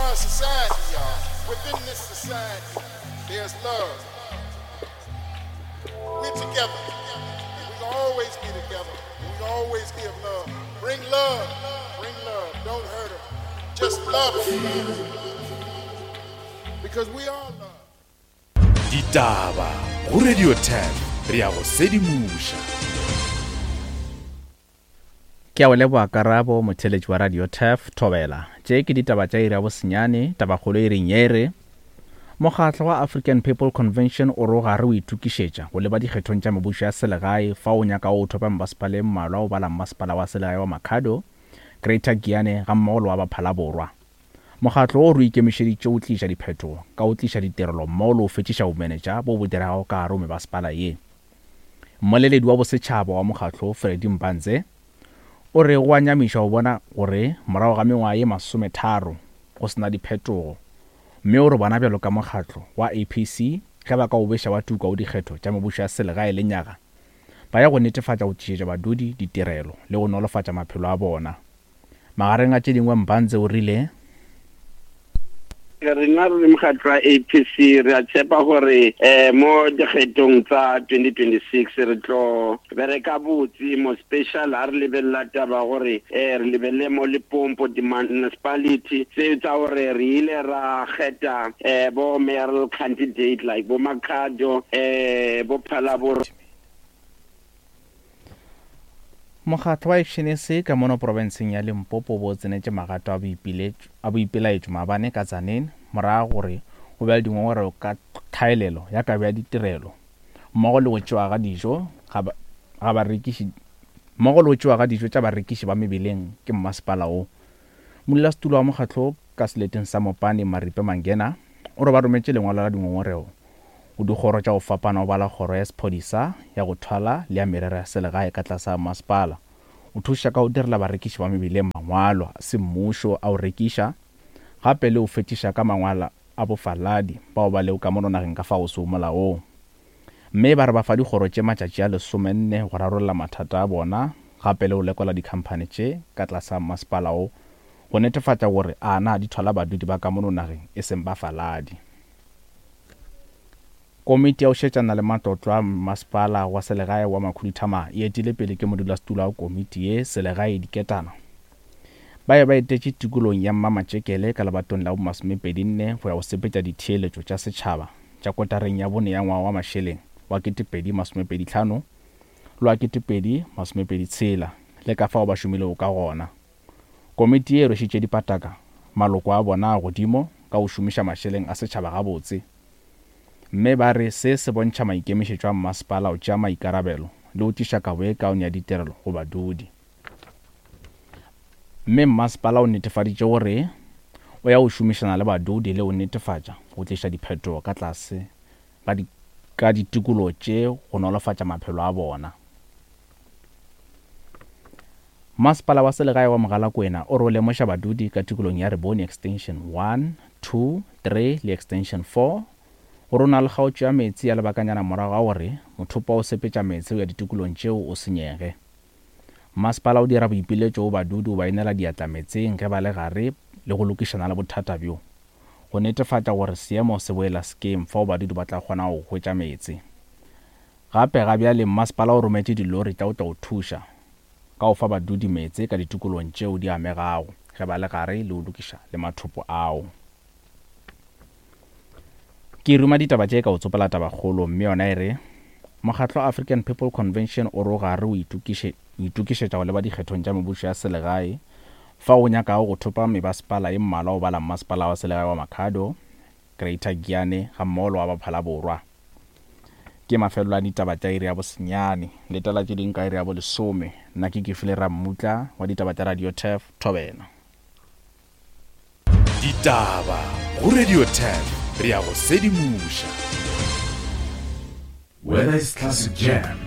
are a society, y'all. Within this society, there's love. We're together. And we can always be together. We can always give love. Bring love. Bring love. Don't hurt her. Just love her. Because we are love. Ditaba go Radio 10 re ya go sedimoša. Ke a o leboga Karabo, motheeletši wa Radio Turf, Thobela. Tše ke ditaba tša iri ya bosenyane, tabakgolo iring ye e re, Mokgatlo wa African People Convention o re o gare o itokišetša go leba dikgethong tša mebušo ya selegae fao o nyakago go thopa mebasepala e mmalwa o bala mmasepala wa selegae wa Makhado, Greater Giyane gammogo le wa Baphala-Borwa. Mokgatlo wo o re o ikemišeditše go tliša diphetogo ka go tliša ditirelo mmogo le go fetšiša bomenetša bo bo diregago ka gare go mebasepala ye. Mmoleledi wa bosetšhaba wa mokgatlo, Freddy Mpanze, o re go a nyamiša go bona gore morago ga mengwaga ye masometharo go se na diphetogo mme o re bona bjalo ka mokgatlo wa APC ge ba ka o beša wa tuka go dikgetho tša mebušo ya selegae lenyaga ba ya go netefatša go tlišetša badudi ditirelo le go nolofatša maphelo a bona. Magareng a tše dingwe Mpanze o rile. Rena re le mokgatlo wa APC re a tshepa gore um mo dikgethong tsa 2026 re tlo bereka botse mo special ha re lebelela taba gore um re lebelele mo Limpopo di-municipality tse tsa gore re ile ra kgetha um bo mayoral candidate like bo Makhado um bo Phalaborwa. Mokgatlo wa Action SA ka mono profenseng ya Limpopo o bo o tsenetše magato a boipiletšo a boipelaetšo maabane ka Tzaneen morago gore go be le dingongorego ka tlhaelelo ya kabo ya ditirelo mmogo le go tšewa ga dijo ga ga barekiši mmogo le go tšewa ga dijo tša barekiši ba mebeleng ke mmasepala wo. Modulasetulo wa mokgatlo ka seleteng sa Mopani Maripe Mangena o re ba rometše lengwalo la dingongorego Go dikgoro tša go fapana go bala kgoro ya sephodisa, ya go thwala le ya merero ya selegae ka tlase ga masepala. O thuša ka go direla barekiši ba mebileng mangwalo a semmušo a go rekiša, gape le go fetiša ka mangwalo a bofaladi bao ba lego ka mono nageng ka fao go sego molaong. Mme ba re ba fa dikgoro tše matšatši a lesomenne go rarolla mathata a bona gape le go lekola dikhamphani tše ka tlase ga masepala wo go netefatša gore a na di thwala badudi ba ka mono nageng e seng bafaladi. Komiti ya go šetšana le matlotlo a Masepala wa Selegae wa Makhuduthamaga e etile pele ke modulasetulo wa komiti ye, Selegae Diketana. Ba be ba etetše tikolong ya Mmamatšekele ka lebatong la bomasomepedinne go ya go sepetša ditheeletšo tša setšhaba tša kotareng ya bone ya ngwaga wa mašeleng wa 2025 le wa 2026 le ka fao ba šomilego ka gona. Komiti ye e rwešitše dipataka maloko a bona a godimo ka go šomiša mašeleng a setšhaba gabotse mme ba re se se bontšha maikemišetšo a mmasepala go tšea maikarabelo le go tliša kabo ye kaone ya ditirelo go badudi. Mme mmasepala o netefaditše gore o ya go šomišana le badudi le go netefatša go tliša diphetogo ka tlase ga ka ditikologo tše go nolofatša maphelo a bona. Masepala wa selegae wa Mogalakwena o re o lemoša badudi ka tikolong ya Rebone Extension 1, 2, 3 le Extension 4 gore o na le kgaotšo ya meetse ya lebakanyana morago ga gore mothopo wa go sepetša meetse go ya ditikolong tšeo o senyege. Masepala o dira boipiletšo go badudi go ba inela diatla meetseng ge ba le gare le go lokišana le bothata bjo go netefatša gore seemo se boela sekeng fao badudi ba tla kgonago go hwetša meetse. Gape ga bjale mmasepala o rometše dilori tša go tla go thuša ka go fa badudi meetse ka ditikolong tšeo di amegago ge ba le gare le go lokiša le mathopo ao. Ke ruma ditaba tše ka go tsopola tabakgolo mme yona e re, Mokgatlo African People Convention o re o gare o itokišetša go leba dikgethong tša mebušo ya selegae fao o nyakago go thopa mebasepala ye mmalwa o bala mmasepala wa selegae wa Makhado, Greater Giyani gammogo le wa Baphala-Borwa. Ke mafelelo a ditaba tša iri ya bosenyane. Letela tše ding ka iri ya bolesome. Nna ke Kefile Rammutla wa ditaba tša Radio Turf, Thobela. Ditaba go Radio Turf, re a go sedimoša. Whether it's classic jam.